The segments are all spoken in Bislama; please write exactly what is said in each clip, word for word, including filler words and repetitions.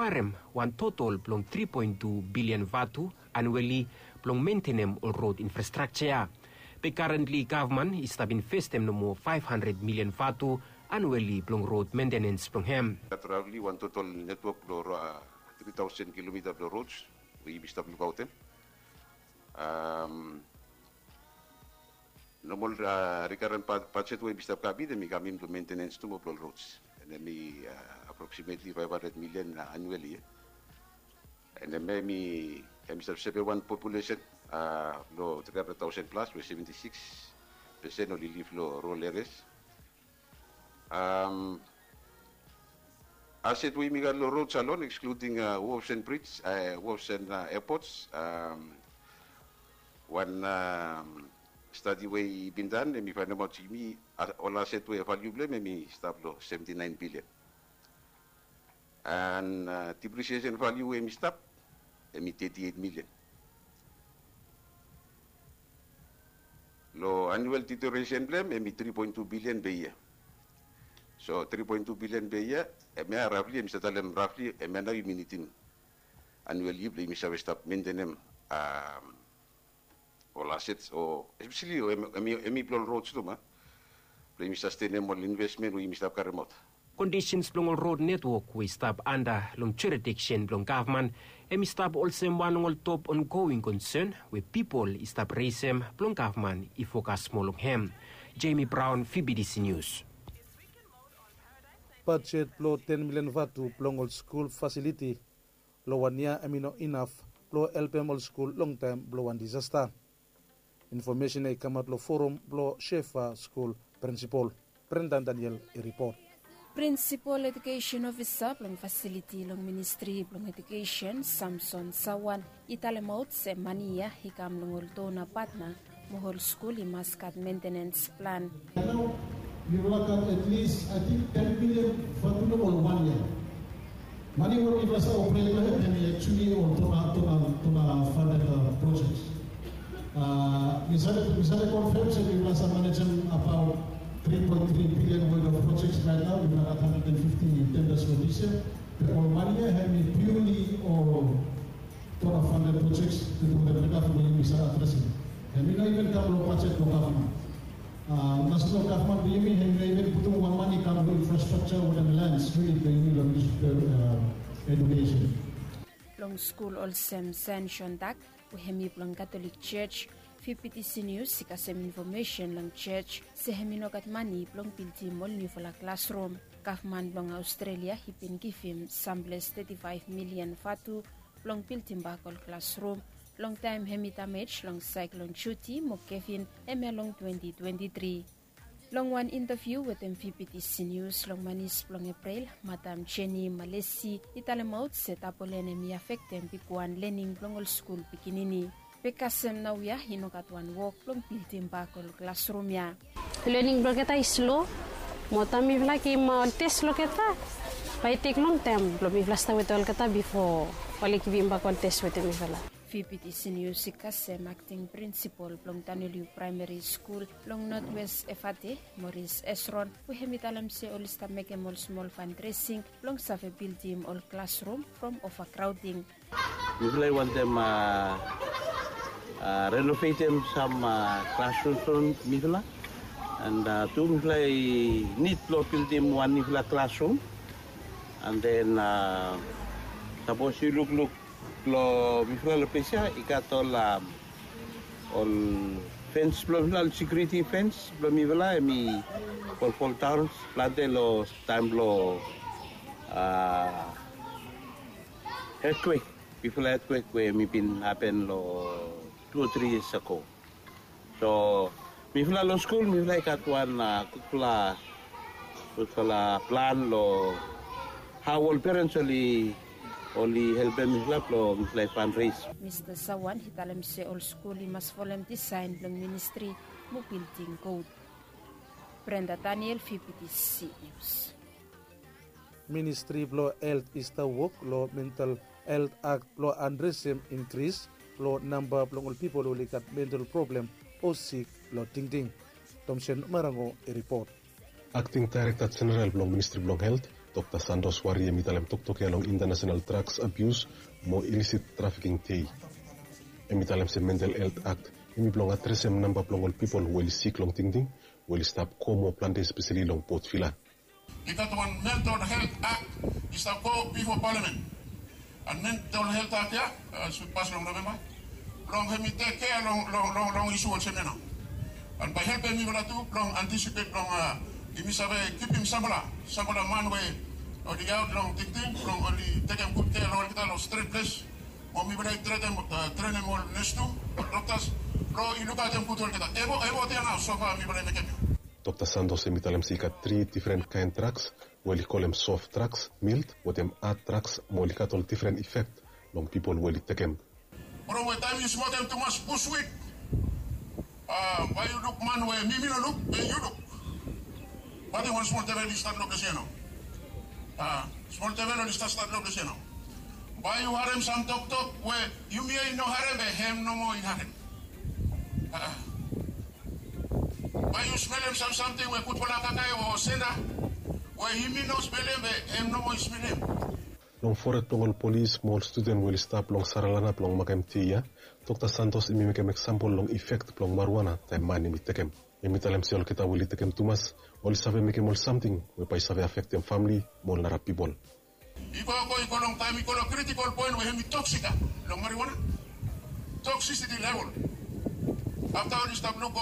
Harem wan totol blong tri poen tu bilian vatu anueli blong mentenem ol rod infrastrakja ya. Be karentli gavman i stap investem nomo faef handred milian vatu anueli blong rod mentenens blong hem. Gat ravli wan totol netwok blong tri taosen kilomita blong rods we yumi stap lukaotem. Nomol rikaren bajet we yumi stap kabit hem i kamim blong mentenens tu mo blong rods, and hem i aproksimetli faef handred milian anueli ya. And hem i hem i stap sepe wan populesen blong tri handred taosen plas we seventi sikis pesen oli liv long rol eres. Aset we yumi gat long rods alon ekskluding wofs and brij, wofs and epots, wan stadi we i bin dan hem i faenemaot yumi ol aset we valiu blong hem hem i stap long seventi naen bilian. And diprisiesen valiu we hem i stap hem i teti eit milian. Long anuel ditoresen blong hem hem i tri poen tu bilian be yia. So tri poen tu bilian be yia, hem ya ravli hem i stap talem ravli hem ya nao yumi nidim anuel yia blong yumi save stap mentenem ol asets o espeseli hem i blong ol rods tu ma blong yumi sastenem ol invesmen we yumi stap karemaot. Kondisens blong ol rod netwok we i stap anda long juridiksen blong gavman hem i stap olsem wan long ol top ongoing konsen we pipol i stap resem blong gavman i fokas moa long hem. Jemi Braon, fibidisi nius. Bajet blong ten milian vatu blong ol skul fasiliti long wan yia hem i no inaf blong helpem ol skul longtaem blong wan disasta. Infomesen ya i kamaot long forum blong shefa skul prinsipol. Brendan Daniel i ripot. Prinsipol ejukesen ofisa blong fasiliti long ministri blong ejukesen Samson Sawan i talemaot se mani ya i kam long ol dona patna mo ol skul i mas gat mentenens plan. Nao yufala gat at least I think ten million for two long ol wan yia. Mani we mifala save operate long hem hem i actually ol tona tona tona funded projects. Mi save mi save confirm se mifala save manejem about three point three billion worth of projects right now. Mifala gat hundred and fifty tenders for this year. Be ol mani ya hem i purely ol tona funded projects. Tutu we mifala save adresem hem i no even kam long bajet blong gavman. Nasenal gavman blong yumi hem i no even putum wan mani kam long infrastructure wetem lands we i blong yumi long dis edukesen. Long skul olsem Sen Jon Dak we hem i blong Katolik Jos, Fifty Senius i kasem infomesen long jos se hem i no gat mani blong bildim ol niufala klasrum. Gavman blong Aostrelia i bin givim samples teti faef milian vatu blong bildimbak ol klasrum long taem hem i damej long saeklon Juti mo Kevin hemia long twenti twenti tri. Long wan intaviu wetem Fifty Senius long manis blong Eprel, Madam Jenny Malesi i talemaot se tabolen hem i afektem bigwan lening blong ol skul pikinini. Be kasem naoia i no gat wan wok blong bildimbak ol klasrum ya. Lening blong olgeta i slo mo taem mifala givim ol tes long olgeta bae i tek longtaem blong mifala stap wetem olgeta bifo oli givimbak ol tes wetem mifala. Fifty Senius i kasem akting prinsipol blong Taneliu Praemeri Skul long Notwes Efate, Moris Esron, we hem i talem se oli stap mekem ol smol fandresing blong save bildim ol klasrum from ovakraoding. Mifala i wantem renovetem sam klasrums blong mifala. And tu mifala i nid blong bildim wan niufala klasrum. And then sapos yu lukluk long mifala long ples ya i gat ol ol fens blong mifala, ol sekiuriti fens blong mifala hem i folfoldaon plante long taem blong etkwek, bifala etkwek we hem i bin hapen long tu o tri yias ago. So mifala long skul mifala i gat wan gudfala gudfala plan long hao ol perens oli oli helpem mifala blong mifala i fandres. Mista Sawan i talem se ol skul i mas folem disaen blong ministri mo bildim god. Brenda Daniel, Fifty Senius. Ministri blong helt i stap wok long mental helt akt blong adresem inkris blong namba blong ol pipol we oli gat mental problem o sik long tingting. Tomsen Marango i ripot. Akting daerekta jeneral blong ministri blong helt, Dokta Santos Wari hem i talem toktok ya long International Drugs Abuse mo Illicit Trafficking Day. Hem i talem se Mental Health Act hem i blong adresem namba blong ol pipol we oli sik long tingting we oli stap go moa plante espeseli long Port Vila. I gat wan Mental Health Act i stap go bifo palamen. And Mental Health Act ya sud pas long Novemba blong hem i tek kea long long long long isu olsem ya nao. And bae helpem mifala tu blong antisipet blong yumi save kipim sampela sampela man we oli aot long tingting blong oli tekem gud kea long olgeta long stret ples. Mo mifala i trenem trenem ol nes tu, ol doktas blong i lukaotem gud olgeta. Evot evot ya nao sofa mifala i mekem ya. Dokta Santos hem i talem se i gat tri difren kaen draks we oli kolem soft draks, mild wetem had draks mo oli gat ol difren ifek long pipol we oli tekem. From we taem yu smokem tumas bushwit, bae yu luk man we mi mi no luk be yu luk. Bae wan smol devel i stat long ples ya nao. Smol devel oli stat stat long ples ya nao. Bae yu harem sam toktok we yumi ya i no harem be hem nomo i harem. Bae yu smelem sam samting we gudfala kakae o senda we yumi no smelem be hem nomo i smelem. Long foret blong ol polis mo ol studen we oli stap long Saralana blong makem dei ya, Dokta Santos hem i mekem eksampol long ifek blong mariwana taem man hem i tekem. Hem i talem se olgeta we oli tekem tumas oli save mekem ol samting we bae i save afektem famle mo ol nara pipol. I go go i go long taem i go long kritikol poen we hem i toksik ya long mariwana. Toksisiti level. Afta oli stap luk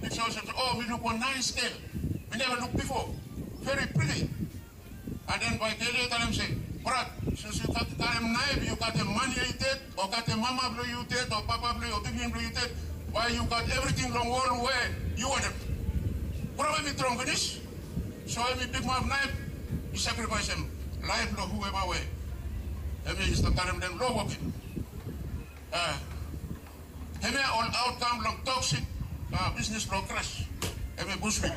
piksa olsem se o mi luk wan naes gel mi neva luk bifo. Veri priti. And then bae gel ya i talem se, brat, since yu gat karem naef yu gatem man ya i ded o gatem mama blong yu ded o papa blong yu o bigman blong yu ded, bae yu gat evriting long wol we yu wantem. Problem i strong finis. So hem i pikimap naef i sakrifaesem laef blong hueva we hem ya i stap karem long lo woke. Hemia ol aotkam blong toksik bisnis blong kras. Hemia bushwit.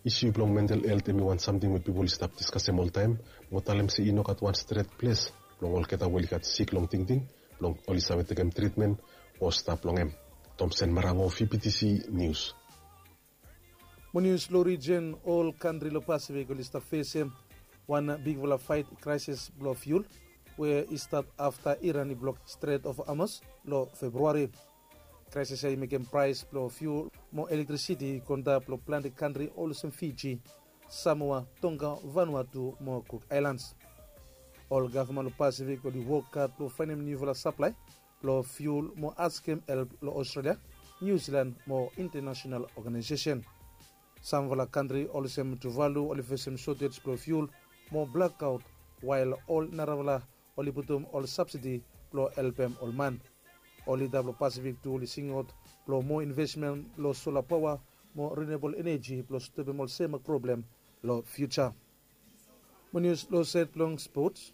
Isu blong mental helt hem i wan samting we pipol i stap diskasem oltaem mo talem se i no gat wan stret ples blong olgeta we oli gat sik long tingting blong oli save tekem tritmen o stap long hem. Tomsen Marango, V P T C Nius. Mo nius long rijen, ol kantri long Pasifik oli stap fesem wan bigfala faet, kraesis blong fiul we i stat afta Iran i blok Strait of Hormuz long Februari. Kraesis ya i mekem praes blong fiul mo elektrisiti i go antap long plante kantri olsem Fiji, Samoa, Tonga, Vanuatu mo Cook Islands. Ol gavman long Pasifik oli wok had blong faenem niufala saplae blong fiul mo askem help long Australia, Niu Silan mo internasenal oganaesesen. Samfala kantri olsem Tuvalu oli fesem sotej blong fiul mo blakaot, wael ol narafala oli putum ol sabsidi blong helpem ol man. Ol lida blong Pasifik tu oli singaot blong moa invesmen long sola paoa mo rinuabol eneji blong stopem ol sem problem long fiuja. Mo nius long saed blong spots.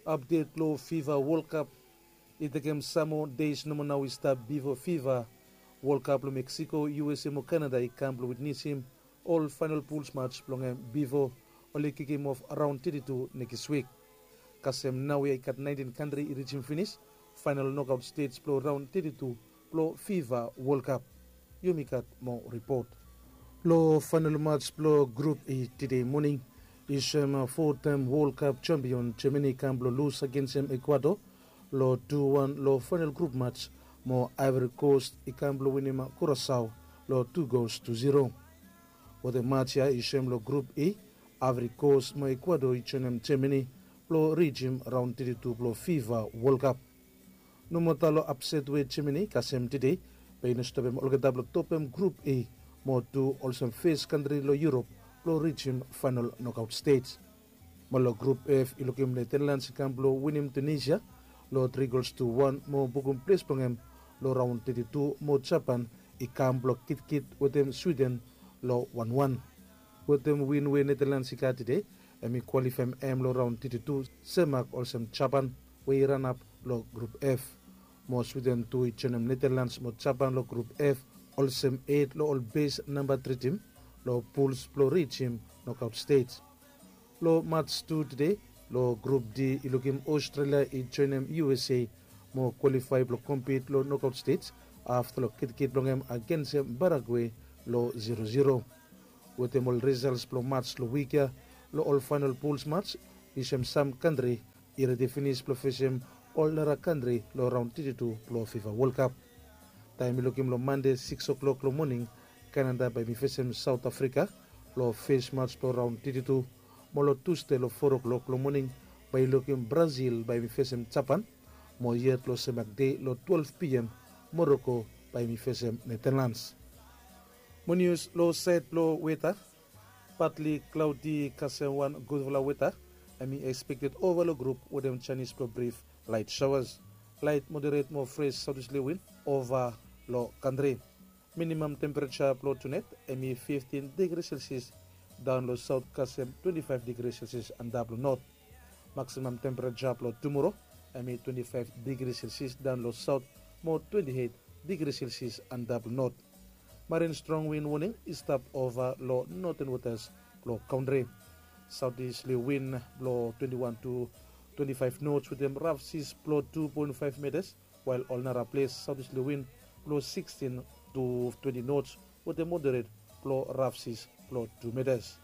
Apdet blong Fifa Wol Kap. I tekem sam moa deis nomo nao i stap bifo Fifa Wol Kap long Meksiko, U S A mo Kanada i kam blong witnesem ol faenol puls mats blong hem bifo oli kikimof raon teti tu nekis wik. Kasem naoia i gat naentin kantri i rijim finis faenol nokaot stej blong raon teti tu blong Fifa Wol Kap. Yumi gat moa ripot. Long faenol mats blong Grup E tede moning, i soem fotaem Wol Kap jampion Jamani i kam blong lus agensem Ekuador long tu wan long faenol grup mats, mo Aevori Kos i kam blong winim Kurasao long tu gols tu ziro. Wetem mats ya i soem long Grup E, Aevori Kos mo Ekuador i joenem Jamani blong rijim raon teti tu blong Fifa Wol Kap. Nomota long apset we Jamani i kasem tede, be i no stopem olgeta blong topem Grup E mo tu olsem fes kantri long Yurop blong rijim faenol nokaot stej. Mo long Grup F i lukim Netalans i kam blong winim Tunisia long tri gols tu wan mo bukum ples blong hem long raon teti tu, mo Japan i kam blong kitkit wetem Swiden long wan wan. Wetem win we Netalans i gat tede, hem i kwalifaem hem long raon teti tu semak olsem Japan we i ranap long Grup F. Mo Swiden tu i joenem Netalans mo Japan long Grup F olsem et long ol bes namba tri tim long puls blong rijim nokaot stej. Long mats tu tede long Grup D i lukim Australia i joenem U S A mo kwalifae blong kompit long nokaot stej afta long kitkit blong hem agensem Paragwe long ziro ziro. Wetem ol risals blong mats long wik ya, Long ol fainal puls mats, i sem sam kantri i redi finis blong fesem ol nara kantri long raon teti tu blong fifa wol kap. Taem i lukim long mande sikis oklok long moning, kanada bae mi fesem saot afrika long fes mats blong raon teti tu. Mo long tusde long fo oklok long moning, bae i lukim brasil bae mi fesem japan. Mo yet long semak dei long twelef pm, moroko bae mi fesem netanlans. Mo nius long saed blong weta, patli klaodi kasem wan gudfala weta. Hem i ekspekted ova long grup wetem janis blong brif laet saoas. Laet moderet mo fres saotis lewin ova long kantri. Minimam tempereja blong tunet hem i fiftin digri selsias daon long saot kasem twenti faef digri selsias antap long not. Maksimam tempereja blong tumoro hem i twenti faef digri selsias daon long saot mo twenti eit digri selsias antap long not. Marin strong win woning i stap ova long noten wotas blong kantri. Saotis lewin blong twenti wan tu twenti faef nots wetem rafsis blong tu poen faef metas, wael ol nara ples saotis lewin blong sikstin tu twenti nots wetem moderet blong rafsis blong tu metas.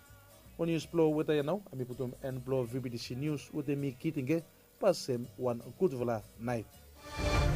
Wan nius blong weta ya nao hem i putum en blong vbtc nius wetem mi kiting ge. Pasem wan gudfala naet.